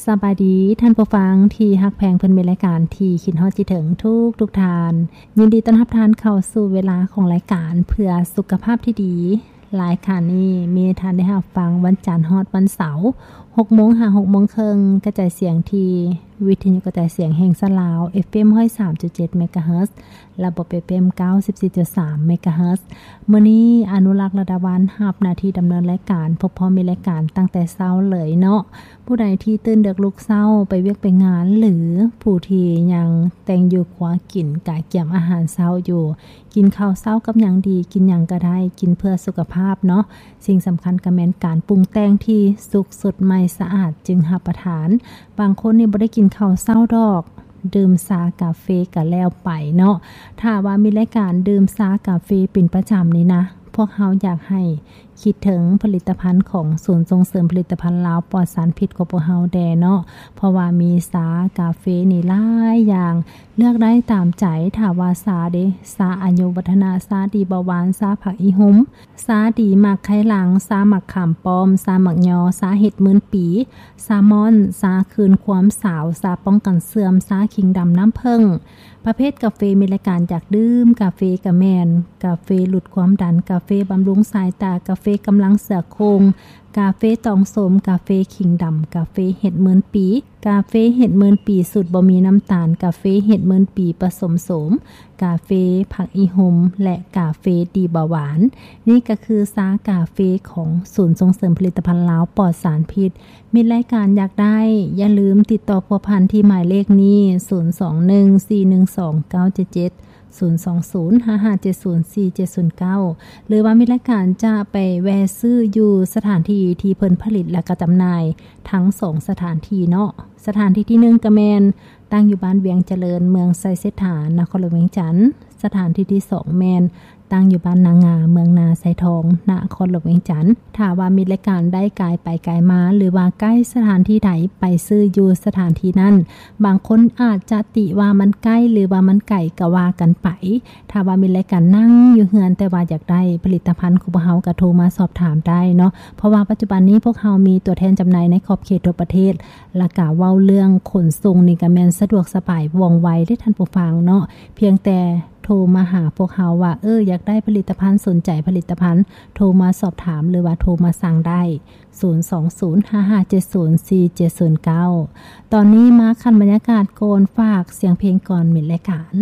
ສະບາຍດີທ່ານຜູ້ຟັງທີ່ຮັກແພງ ເພື່ອນມິດລາຍການທີ່ຄິດຮອດຄິດເຖິງທຸກໆທ່ານ. ຍິນດີຕ້ອນຮັບທ່ານເຂົ້າສູ່ເວລາຂອງລາຍການເພື່ອສຸຂະພາບທີ່ດີ. ລາຍການນີ້ມີໃຫ້ທ່ານໄດ້ຮັບຟັງວັນຈັນຮອດວັນເສົາ ຫົກໂມງຫາຫົກໂມງເຄິ່ງ ກະຈາຍສຽງທີ່ວິທະຍຸກະຈາຍສຽງແຫ່ງຊາດລາວ ເອຟເອັມ ຮ້ອຍສາມຈຸດເຈັດ ເມກາເຮີດ ລະບົບ ເອຟເອັມ ເກົ້າສິບສີ່ຈຸດສາມ ເມກາເຮີດ. ມື້ນີ້ອະນຸລັກ ລະດາວັນ ຮັບໜ້າທີ່ດຳເນີນລາຍການ ພົບພໍ້ມີລາຍການຕັ້ງແຕ່ເຊົ້າເລີຍເນາະ. ຜູ້ໃດທີ່ຕື່ນເດິກລຸກເຊົ້າໄປວຽກໄປງານ ຫຼື ຜູ້ທີ່ຍັງແຕ່ງຢູ່ຄົວກິນ ກະກຽມອາຫານເຊົ້າຢູ່ ກິນເຂົ້າເຊົ້າກັບຫຍັງດີ? ກິນຫຍັງກະໄດ້ ກິນເພື່ອສຸຂະພາບເນາະ. ສິ່ງສຳຄັນກະແມ່ນການປຸງແຕ່ງທີ່ສຸກສົດໃໝ່ສະອາດຈຶ່ງຮັບປະທານ. ບາງຄົນນີ້ບໍ່ໄດ້ກິນເຂົ້າເຊົ້າດອກ ດື່ມຊາກາເຟກະແລ້ວໄປເນາະ. ຖ້າວ່າມີລາຍການດື່ມຊາກາເຟເປັນປະຈຳນີ້ນະ ພວກເຮົາຢາກໃຫ້ຄິດເຖິງຜະລິດຕະພັນຂອງສູນສົ່ງເສີມຜະລິດຕະພັນລາວປອດສານພິດຂອງພວກເຮົາແດ່ເນາະ. ເພາະວ່າມີຊາກາເຟນີ້ຫຼາຍຢ່າງ ເລືອກໄດ້ຕາມໃຈ. ຖ້າວ່າຊາເດ ຊາອາຍຸວັດທະນະ ຊາດີເບົາຫວານ ຊາຜັກອີ່ຫຸ່ມ ຊາດີໝາກໄຄຫຼັງ ຊາໝາກຂາມປ້ອມ ຊາໝາກຍໍ ຊາເຫັດໝື່ນປີ ຊາມອນ ຊາຄືນຄວາມສາວ ຊາປ້ອງກັນເສື່ອມ ຊາຂີງດຳນ້ຳເຜິ້ງ. ປະເພດກາເຟມີລາຍການຢາກດື່ມກາເຟກະແມ່ນ ກາເຟຫຼຸດຄວາມດັນ ກາເຟບຳລຸງສາຍຕາ ກາເຟກຳລັງເສືອໂຄ່ງ ກາເຟຕອງໂສມ ກາເຟຂີງດຳ ກາເຟເຫັດໝື່ນປີ ກາເຟເຫັດໝື່ນປີສູດບໍ່ມີນ້ຳຕານ ກາເຟເຫັດໝື່ນປີປະສົມໂສມ ກາເຟຜັກອີ່ຫຸ່ມ ແລະ ກາເຟດີເບົາຫວານ. ນີ້ກະຄືຊາກາເຟຂອງສູນສົ່ງເສີມຜະລິດຕະພັນລາວປອດສານພິດ. ມິດລາຍການຢາກໄດ້ ຢ່າລືມຕິດຕໍ່ພົວພັນທີ່ໝາຍເລກນີ້ ສູນສອງໜຶ່ງ ສີ່ໜຶ່ງສອງ ເກົ້າເຈັດເຈັດ ສູນສອງສູນ ຫ້າຫ້າເຈັດສູນ ສີ່ເຈັດສູນເກົ້າ ຫຼືວ່າມິດລາຍການຈະໄປແວ່ຊື້ຢູ່ສະຖານທີ່ທີ່ເພິ່ນຜະລິດ ແລະ ກະຈຳໜ່າຍທັງສອງສະຖານທີ່ເນາະ. ສະຖານທີ່ທີໜຶ່ງກະແມ່ນ ຕັ້ງຢູ່ບ້ານວຽງຈະເລີນ ເມືອງໄຊເສດຖາ ນະຄອນຫຼວງວຽງຈັນ. ສະຖານທີ່ທີສອງແມ່ນ ຕັ້ງຢູ່ບ້ານນາງາ ເມືອງນາຊາຍທອງ ນະຄອນຫຼວງວຽງຈັນ. ຖ້າວ່າມິດລາຍການໄດ້ກາຍໄປກາຍມາ ຫຼືວ່າໃກ້ສະຖານທີ່ໃດ ໄປຊື້ຢູ່ສະຖານທີ່ນັ້ນ. ບາງຄົນອາດຈະຕິວ່າມັນໃກ້ ຫຼືວ່າມັນໄກ ກະວ່າກັນໄປ. ຖ້າວ່າມິດລາຍການນັ່ງຢູ່ເຮືອນ ແຕ່ວ່າຢາກໄດ້ຜະລິດຕະພັນຂອງພວກເຮົາ ກະໂທມາສອບຖາມໄດ້ເນາະ. ເພາະວ່າປັດຈຸບັນນີ້ພວກເຮົາມີຕົວແທນຈຳໜ່າຍໃນຂອບເຂດທົ່ວປະເທດ ລະກະເວົ້າເລື່ອງຂົນສົ່ງນີ້ກະແມ່ນສະດວກສະບາຍວ່ອງໄວເດ້ທ່ານຜູ້ຟັງເນາະ. ພຽງແຕ່ໂທມາຫາພວກເຮົາວ່າ ເອີ ຢາກໄດ້ຜະລິດຕະພັນ ສົນໃຈຜະລິດຕະພັນ ໂທມາສອບຖາມ ຫຼືວ່າໂທມາສັ່ງໄດ້ ສູນສອງສູນ ຫ້າຫ້າເຈັດສູນ ສີ່ເຈັດສູນເກົ້າ. ຕອນນີ້ມາຂັ້ນບັນຍາກາດກ່ອນ ຝາກສຽງເພງກ່ອນມິດລາຍການ.